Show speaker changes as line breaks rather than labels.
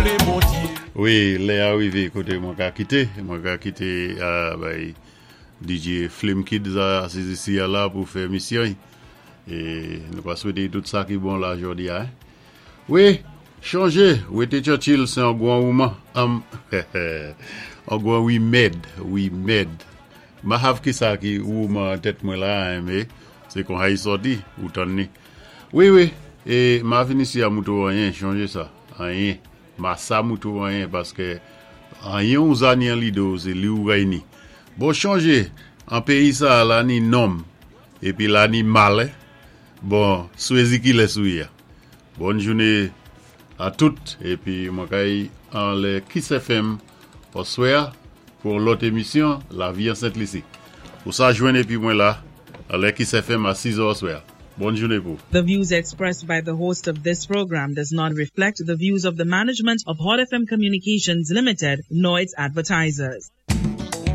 Sanblé Bondyé.
Wi, lè a rivé koté mwen ka kité, mwen ka kité bay DJ Flim Kids a asiz isi a la pou fè misyon. É nou pa swété tout sa ki bon la jòdi a. Wi, chonjé, wété Churchill sé an gwan wouman, an gwan wimèd, wimèd. Ma hav ki sa ki wouman an tèt mwen la, mé sé kon hay sòti, ou tann ni. Wi, é ma vin isi a moutré ou anyen, chonjé sa, anyen. Ma sa moutré ou anyen paské anyen ou za ni an lidé ou sé li ou gay ni. Bon chonjé, an péyi sa la ni nonm, épi la ni mal. Bon, swézi ki lès ou yé a. Bòn jouné a tout épi mwen kay anlè Kiss FM òswè a pou yon lòt émisyon Lavi an Sent Lisi. Ou sa jwenn épi mwen la anlè Kiss FM a 6 zè òswè a. Bòn jouné pou.
The views expressed by the host of this program does not reflect the views of the management of Hot FM Communications Limited nor its advertisers.